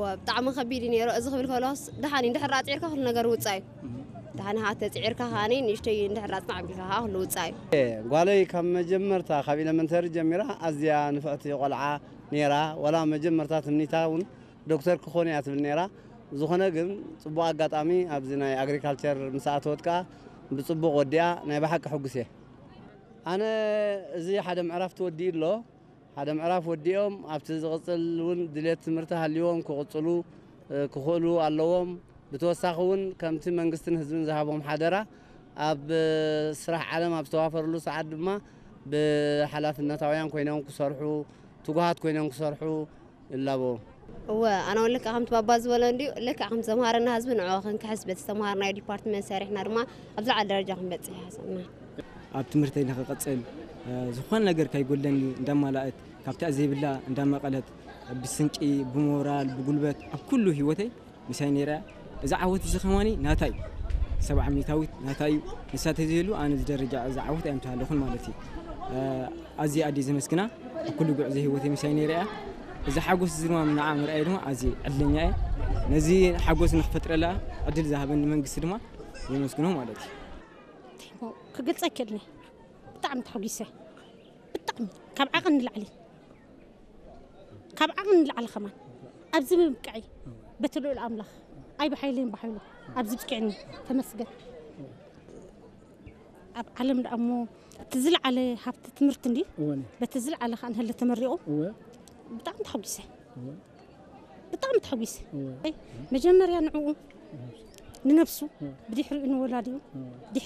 ብጣዕሚ ከቢድ እዩ ነይሩ። እዚ ክብል ከሎስ ደሓን እዩ፣ እንድሕር ኣፅዒርካ ኩሉ ነገር ውፃእ እዩ። ደሓን ሃ ተፅዒርካ ከዓኒ ንእሽተይ እንድሕር ኣፅናዕ ኣቢልካ ከዓ ኩሉ ውፃእ እዩ። ጓለይ ካብ መጀመርታ ካብ ኢለመንተሪ ጀሚራ ኣዝያ ንፍዕቲ ቆልዓ ነይራ። ዋላ መጀመርታ ትምኒታ እውን ዶክተር ክኾን እያ ትብል ነይራ። ዝኾነ ግን ፅቡቕ ኣጋጣሚ ኣብዚ ናይ ኣግሪካልቸር ምስ ኣተወት ከዓ ብፅቡቕ ወዲኣ ናይ ብሓቂ ሕጉስ እየ። ኣነ እዚ ሓደ ምዕራፍ ተወዲኡ ኣሎ። ሓደ ምዕራፍ ወዲኦም ኣብቲ ዝቕፅል እውን ድሌት ትምህርቲ ሃልይዎም ክቕፅሉ ክኽእሉ ኣለዎም። ብተወሳኺ እውን ከምቲ መንግስትን ህዝብን ዝሃቦም ሓደራ ኣብ ስራሕ ዓለም ኣብ ዝተዋፈርሉ ሰዓት ድማ ብሓላፍነታውያን ኮይኖም ክሰርሑ፣ ትጉሃት ኮይኖም ክሰርሑ ይላበዎም። እወ፣ ኣነ እውን ልክዕ ከምቲ ባባ ዝበሎ እንድዩ። ልክዕ ከም ዝተምሃረና ህዝቢ ንዕኡ ክንክሕስ በቲ ዝተምሃርናዮ ዲፓርትመንት ሰሪሕና ድማ ኣብ ዝለዓለ ደረጃ ክንበፅሕ ይሓሰብና። ኣብ ትምህርተይ ንክቕፅል ዝኾነ ነገር ከይጎለኒ እንዳማላእት ካብታ ዘይብላ እንዳመቐለት ብስንቂ፣ ብሞራል፣ ብጉልበት ኣብ ኩሉ ህይወተይ ምሳይ ነይራ። እዚ ዓወት እዚ ከማኒ ናታይ ሰብዓ ሚታዊት ናታይ እዩ። ንሳ ተዘይሉ ኣነ እዚ ደረጃ እዚ ዓወት ኣይምተሃለኹን ማለት እዩ። ኣዝየ ኣደ ዘመስግና ኣብ ኩሉ ጉዕዞ ህይወተይ ምሳይ ነይራ እያ። እዚ ሓጎስ እዚ ድማ ንዓ ምርኣይ ድማ ኣዝየ ዕድለኛ እየ። ነዚ ሓጎስ ንክፈጥረላ ዕድል ዝሃበኒ መንግስቲ ድማ የመስግኖ ማለት እዩ። ክገልፀ ኣይክእልን እየ። ብጣዕሚ ተሓጒሰ። ብጣዕሚ ካብ ዓቐን ንላዕሊ ካብ ዓቐን ንላዕሊ ከማን ኣብዚ ምብቅዐይ በቲ ልኡል ኣምላኽ ኣይ ብሓይለይን ብሓይሉ ኣብዚ ብቂዕኒ ተመስገን። ኣብ ዓለም ደኣ እሞ እቲ ዝለዓለ ሃብቲ ትምህርቲ እንዲ እወ በቲ ዝለዓለ ከዓ ንህለ ተመሪቑ እወ ብጣዕሚ ተሓጒሰ እወ ብጣዕሚ ተሓጒሰ እወ መጀመርያ ንዕኡ ንነብሱ ብድሕሪኡ ንወላዲኡ